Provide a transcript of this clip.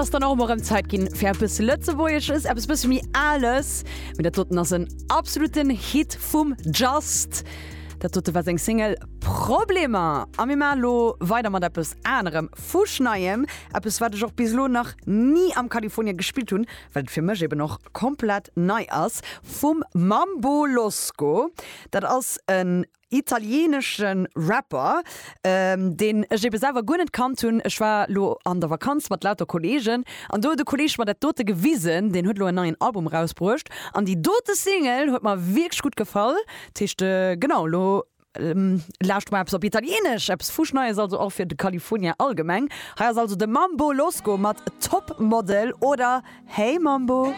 ass dann och emol erëm Zäit ginn fir eppes Lëtzebuergesches, eppes bësse méi Ales. Mee dat doten ass en absoluten Hit vum Just. Dat dote war seng Single Problemer. A mir maache lo weider mat eppes anerem, fuschneiem, eppes wat ech och bis elo nach ni am California gespillt hunn, well et fir mech eben och komplett nei ass, vum Mambo Losco. Dat ass en Italienesche Rapper, deen ech ebe selwer guer net kannt hunn. Ech war lo an der Vakanz mat lauter Kollegen an do huet e Kolleg mer dat dote gewisen. Deen huet lo en neien Album erausbruecht an déi dote Single huet mer wierklech gutt gefall. Dat heescht, genau, lo lauschte mer eppes op Italienesch, eppes fuschneies also och fir de California allgemeng. Hei ass also de Mambo Losco mat Top Model oder Hey Mambo.